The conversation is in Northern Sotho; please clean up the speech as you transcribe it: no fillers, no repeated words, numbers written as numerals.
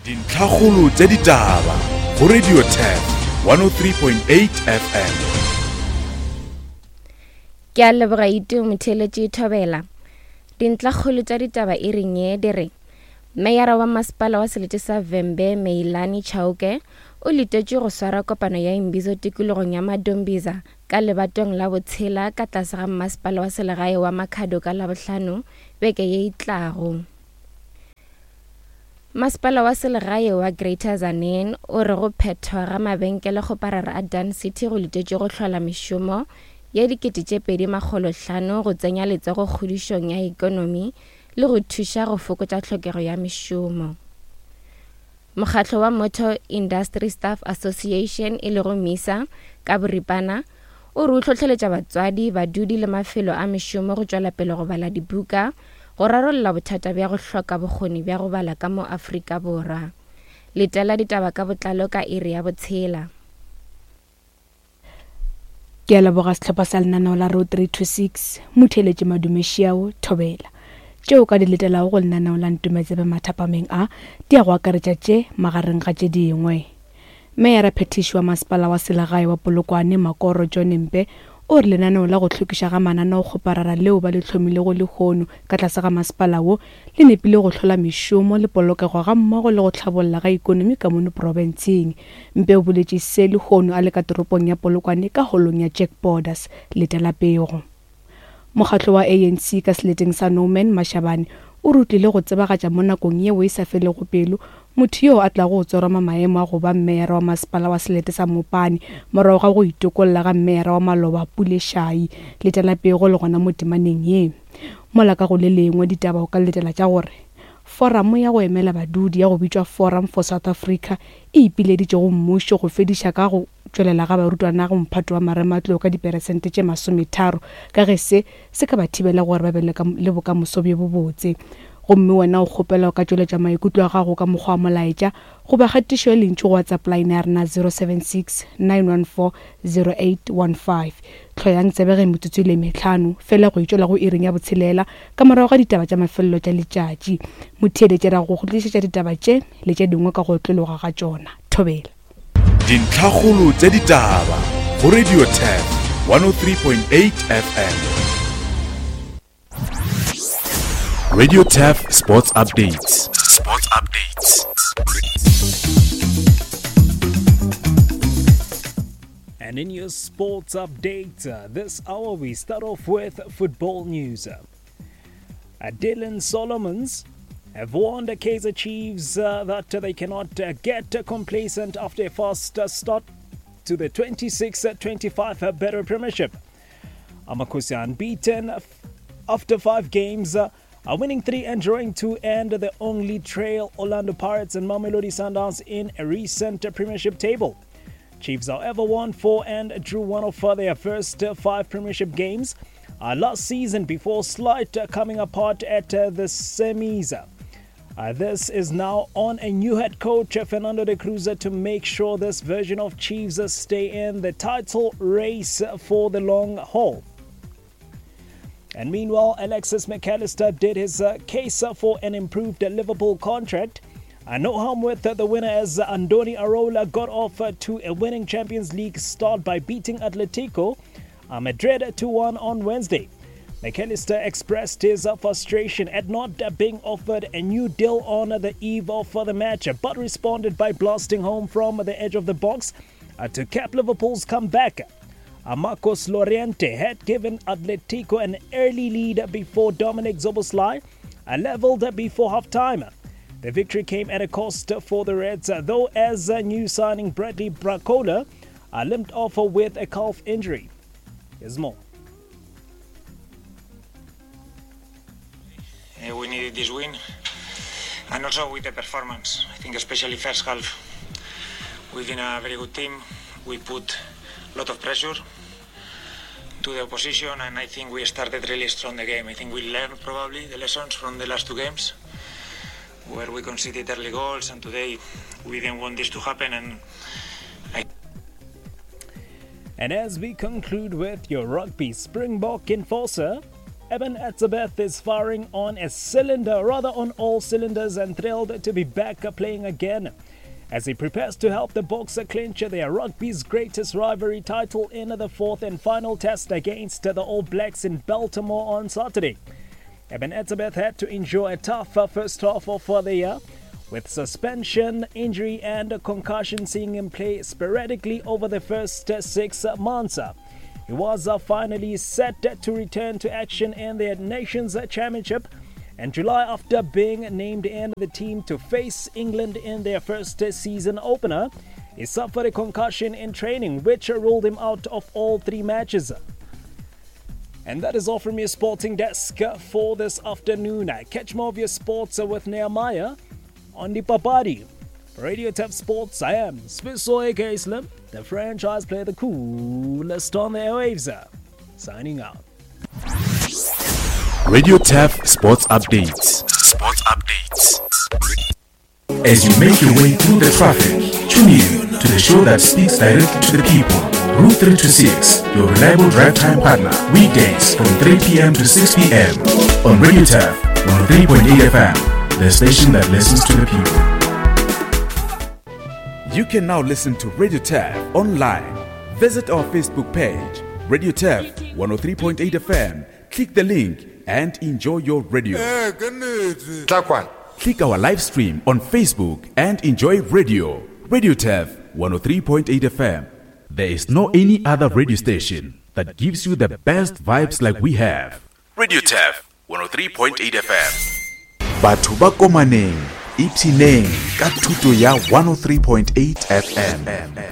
Dintlhakgolo tša ditaba go Radio Turf 103.8 FM. Ke a leboga Itu motheeletši Thobela. Dintlhakgolo tša ditaba e reng ye di re Meyara wa masepala wa selete sa Vhembe Meilani Chauke o letetšwe go swara kopano ya Imbizo tikologong ya Madombiza ka lebatong la botshela ka tlase ga mmasepala wa selegae wa Makhado ka Labohlano beke ye e tlago. Masepala wa selegae wa Greater Tzaneen o re go phethwa ga mabenkelekgoparara a Dun City go letetšwe go hlola mešomo ye 2500 go tsenya letsogo kgodišong ya ekonomi le go thuša go fokotša tlhokego ya mešomo. Mokgatlo wa Motor Industry Staff Association e lego MISA ka boripana o re o hlohleletša batswadi, badudi le mafelo a mešomo go tšwela pele go bala dibuka go rarolla bothata bja go hloka bokgoni bja go bala ka mo Afrika Borwa. Letela ditaba ka botlalo ka iri ya botshela. Ke a leboga sehlopha sa lenaneo la Road 326, Motheeletši Madume Šiao, Thobela. Tšeo o ka di letelago go lenaneo la Ntumetsebe mathapameng a, di ya go akaretša tše magareng ga tše dingwe. Meyara phethiši wa masepala wa selegae wa Polokwane, Makoro John Mpe, o re lenaneo la go hlwekiša ga mananeokgoparara leo ba le hlomilego lehono ka tlase ga masepala wo le nepile go hlola mešomo le polokego gammogo le go hlabolla ga ikonomi ka mono profenseng. Mpe o boletše se lehono a le ka toropong ya Polokwane ka holong ya Jack Borders. Letela pego. Mokgatlo wa ANC ka seleteng sa Norman Mashabane o re o tlile go tsebagatša mo nakong yeo e sa felego pelo motho yoo a tlago go tsoroma maemo a go ba mmeyara wa masepala wa selete sa Mopani morago ga go itokolla ga mmeyara wa maloba Pule Shayi. Letela pego le gona mo temaneng ye. Mola ka go le lengwe ditaba o ka letela tša gore Foramo ya go emela badudi ya go bitšwa Forum for South Africa e ipileditše go mmušo go fediša ka go tšwelela ga barutwana go mphato wa marematlou ka diperesente tše masometharo ka ge se se ka ba thibela gore ba be le bokamoso bjo bobotse. Gomme wena o kgopelwa o ka tšweletša maikutlo a gago ka mokgwa wa molaetša goba kgatišo ya lentšu go WhatsApp line ya rena 076 914 0815. Hloyang tsebe ge metsotso e le mehlano fela go itšwela go iring ya botshelela ka morago ga ditaba tša mafelelo tša letšatši. Motheeletši ra go go tlišetša ditaba tše le tše dingwe ka go otlologa ga tšona. Thobela. Dintlhakgolo tša ditaba go Radio Turf 103.8 FM. Radio Turf Sports Updates. Sports Updates. And in your sports update, uh, this hour we start off with football news. Uh, Dylan Solomons have warned the Kaizer Chiefs uh, that they cannot uh, get complacent after a fast uh, start to the 26-25 Betway Premiership. Amakosi unbeaten after five games, uh, winning three and drawing two, and the only trail Orlando Pirates and Mamelodi Sundowns in a recent Premiership table. Chiefs, however, won four and drew one of their first five Premiership games uh, last season before slight coming apart at uh, the semis. Uh, this is now on a new head coach, Fernando de Cruz, to make sure this version of Chiefs stay in the title race for the long haul. And meanwhile, Alexis McAllister did his uh, case for an improved Liverpool contract. Uh, no harm with the winner as Andoni Arola got off to a winning Champions League start by beating Atletico Madrid 2 1 on Wednesday. McAllister expressed his frustration at not being offered a new deal on the eve of the match, but responded by blasting home from the edge of the box uh, to cap Liverpool's comeback. Uh, Marcos Llorente had given Atletico an early lead before Dominic Szoboszlai uh, leveled before half-time. The victory came at a cost for the Reds, though as new signing Bradley Barcola limped off with a calf injury. Here's more. Uh, we needed this win, and also with the performance. I think especially first half, we've been a very good team. We put a lot of pressure to the opposition, and I think we started really strong the game. I think we learned probably the lessons from the last two games, where we conceded early goals, and today we didn't want this to happen. And I and as we conclude with your rugby Springbok enforcer. Eben Etzebeth is firing on a cylinder, rather on all cylinders, and thrilled to be back playing again as he prepares to help the Boxer clinch their rugby's greatest rivalry title in the fourth and final test against the All Blacks in Baltimore on Saturday. Eben Etzebeth had to endure a tough first half of the year, with suspension, injury, and concussion seeing him play sporadically over the first six months. He was uh, finally set to return to action in the Nations Championship in July after being named in the team to face England in their first season opener. He suffered a concussion in training, which ruled him out of all three matches. And that is all from your sporting desk for this afternoon. Catch more of your sports with Nehemiah on the Papadi. For Radio Tap Sports, I am Swisso aka Slim, the franchise player, the coolest on the airwaves. Signing out. Radio Tap Sports Updates. Sports Updates. As you make your way through the traffic, tune in to the show that speaks directly to the people. Route 326, your reliable drive time partner, weekdays from 3 p.m. to 6 p.m. on Radio Tap 103.8 FM, the station that listens to the people. You can now listen to Radio Tap online. Visit our Facebook page, Radio Tap 103.8 FM. Click the link and enjoy your radio. Click our live stream on Facebook and enjoy radio. Radio Tap 103.8 FM. There is no any other radio station that gives you the best vibes like we have. Radio Tap 103.8 FM. Batho ba komaneng, ipshineng ka thuto ya 103.8 FM.